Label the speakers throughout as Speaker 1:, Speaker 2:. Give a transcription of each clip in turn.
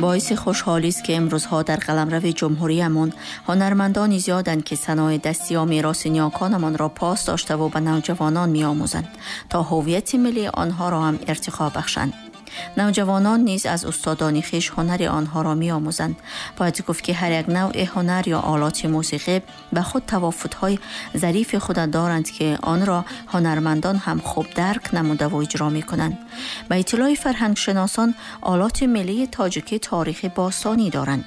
Speaker 1: Боиси хушҳолист, ки имрӯзҳо дар қаламрави ҷумҳуриямон ҳунармандони зиёданд, ки санои дастӣ ё мероси ниёконамонро пос доштаву ба навҷавонон меомӯзанд, то ҳуввияти миллии онҳоро ҳам иртиқо бахшанд. Навҷавонон низ аз устодони хеш ҳунари онҳоро меомӯзанд. Бояд гуфт, ки ҳар як навъи ҳунар ё олоти мусиқӣ ба худ тавофутҳои зарифи худа доранд, ки онро ҳунармандон ҳам хуб дарк намудаву иҷро мекунанд. Ба иттилои фарҳангшиносон, олоти миллии тоҷикӣ таърихи бостонӣ доранд.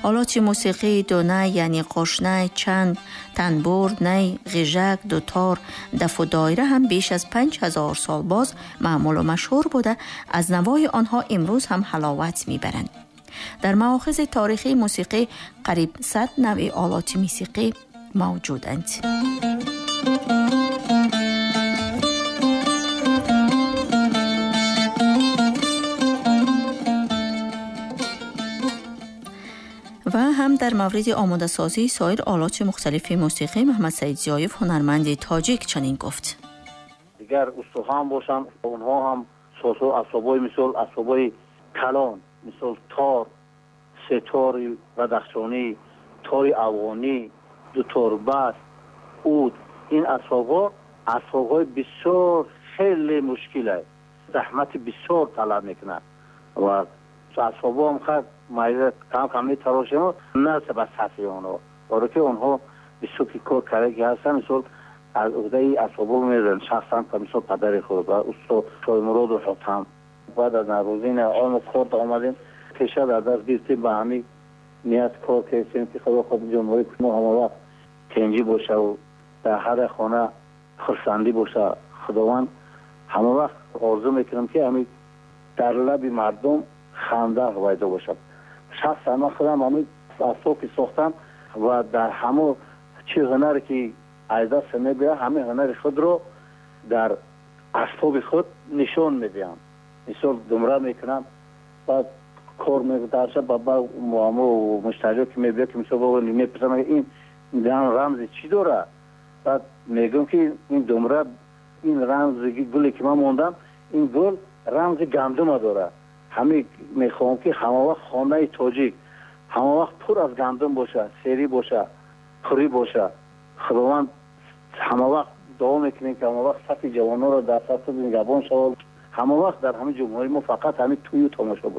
Speaker 1: Олоти мусиқии дунай, яъне қошнай, чанг, танбур, най, ғижак, дутор, дафу доира ҳам беш аз 5000 сол боз маъмулу машҳур буда, аз навои онҳо имрӯз ҳам ҳаловат мебаранд. Дар маохизи таърихии мусиқӣ қариб 100 навъи олоти мусиқӣ мавҷуданд. Ва ҳам дар мавриди омодасозии соир олоти мухталифи мусиқӣ Муҳаммадсаид Зиёев, ҳунарманди тоҷик, чунин гуфт.
Speaker 2: Дигар устодҳо ҳам бошанд, онҳо ҳам созҳо, асбобҳои, мисол асбобҳои калон, мисол тор, сетори бадахшонӣ, тори афғонӣ, дуторбас, уд, ин асбобҳо асбобҳои бисёр хеле мушкил аст, заҳмати бисёр талаб мекунад ва асбобҳо ҳам хай майда кам кам метарошем, на ба сатҳи онҳо, баро ки онҳо бисёр ки кор кардаги ҳастанд, мисол аз уҳдаи асбобҳо мезананд шахсан, мисол падари худ ва устод Шоҳмуроду Ҳотам. Баъд аз Наврӯзин он кор омадем, пеша дар даст гирифтем, ба ҳамин ният кор кардем, ки худо хоҳад ҷумҳурии мо ҳамавақт тинҷӣ бошаву дар ҳар хона хурсандӣ боша. Худованд ҳамавақт орзу мекунам, ки ҳамин дар лаби мардум ханда пайдо бошад. Шахсан ман худам ҳамин асбоб ки сохтам ва дар ҳамо чӣ ҳунаре ки аз даст мебиёяд, ҳамин ҳунари худро дар асбоби худ нишон медиҳам. Мисол думра мекунам, баъд кор медарша, ба муштариё ки мебиёд, ки мисол мепурсам, ин рамзи чӣ дорад, баъд мегӯям, ки ин думра, ин рамзи гуле ки ман мондам, ин гул рамзи гандума дорад. Ҳамин мехоҳам, ки ҳамавақт хонаи тоҷик ҳамавақт пур аз гандум бошад, серӣ бошад, пурӣ бошад. Худованд ҳамавақт дуо мекунем, ки ҳамавақт сафи ҷавононро дар сафи нигаҳбон шавад, ҳамавақт дар ҳамин ҷумҳурии мо фақат ҳамин тӯю тамошо бошад.